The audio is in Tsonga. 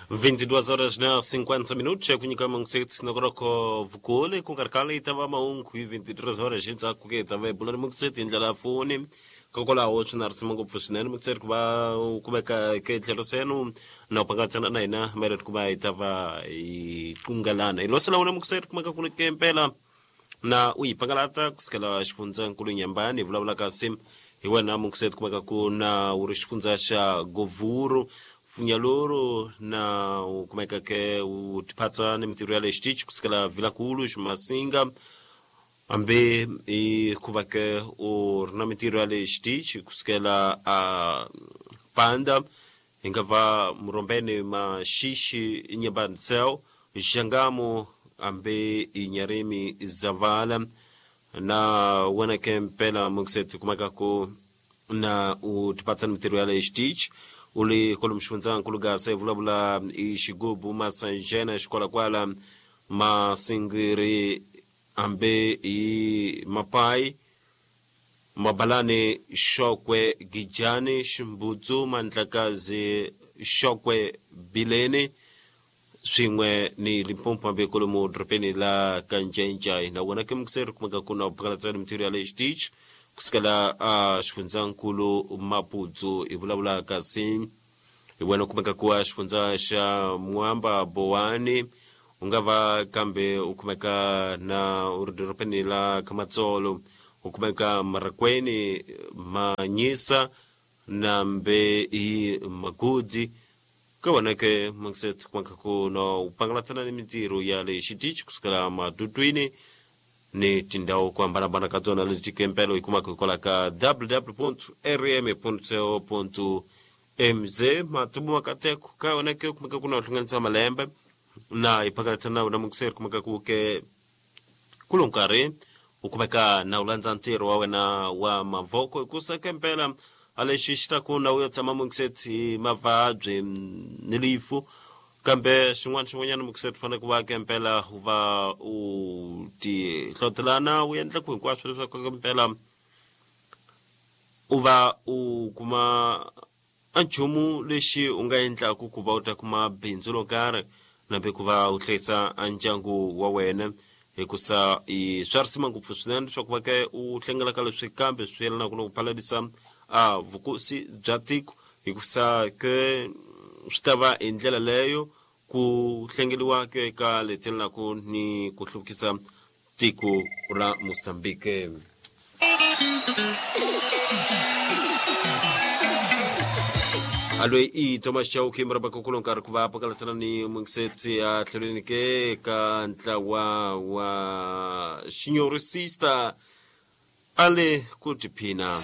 22 horas na 50 minutos kunyika mangusetsi nakoroko vukule kungarikale itava mahungu hi 23 horas endzhaku ke itava ebulani mungusetsi hi ndlela ya foni kokwalaho swi na risima ngopfu swinene mungusetsi ku va u kumeka ke tlhelo senu na u pangatsana na hina mayelana ku va hi ta va hi qungelana hi losela wona mungusetsi kumeka ku ke mpela na u yi pangalata kusukela xifundzankulu Nyambani hi vulavula kasi hi wena mungusetsi kumeka ku na wu ri xifundza xa Govhuru Pfunyaloro na u kumeka ke u tiphatsa ni mintirho ya le xitichi kusukela Vilankulu Ximasinga hambi i ku va ke u ri na mintirho ya le xitichi kusukela a Panda hi nga va Murombeni Maxixi Nyambani Cell Xangamu hambi i Nyarimi Zavala na wena ke mpela mungiseti kumeka ku na u tipatsa ni mintirho ya le xitichi u li kwalomu xifundzankulu Gasa hi vulavula i xigubu Masanjena Xikwalakwala Masingiri hambi i Mapai Mabalani Xokwe Gijani Ximbudzu Mandlakazi Xokwe Bileni swin'we ni Limpopo hambi kwalomu dorobeni la Kanjenja na wena ke mungiseri kumeka ku na u phakalatsa ni mintirho ya le xitichi kusukela a xifundzankulu Maputsu hi vulavula kasi hi wena kumeka ku a xifundza xa Mwamba Bowani u nga va kambe u kumeka na u ri dorobeni la Kamatsolo u kumeka Marakweni Manyisa nambe hi Magudi ka wena ke mungiseti kumeka ku na u pangalatsana ni mintirho ya le xitichi kusukela madutwini ni tindhawu ku hambanahambana ka tona leti kempelo hi kumaka hikwalaho ka www.rm.co.mz matumu makateko ka yona ke kumeka ku na u hlanganisa malembe na hi phakalatsa na wena mungiseri kumeka ku ke kulo nkarhi u kumeka na u landza ntirho wa wena wa mavoko hikusa ke mpela a lexi xi ta ku na u ya tshama mungiseti mavabyi ni lifu kambe xin'wana xin'wanyana mungiseti fanele ku va ke mpela u va u ti hlotelana u endla ku hinkwaswo leswaku ke mpela u va u kuma a nchumu lexi u nga endlaku ku va u ta kuma bindzu ro karhi nambe ku va u hlayisa a ndyangu wa wena hikusa i swa risima ngopfu swinene leswaku va ke u hlengela ka leswi kambe swi yelanaka na ku phalalisa a vukosi bya tiko hikusa ke swi ta va hi ndlela leyo ku hlengeliwa ke ka leti yelanaka ni ku hluvukisa tiko ra Mozambique. Aloyi i Thomas Chauke murabaka kulo nkarhi ku va pakalatsana ni mungisetsi a tlhelweni ke ka ntlawa wa Xinyorisista a le ku tiphina.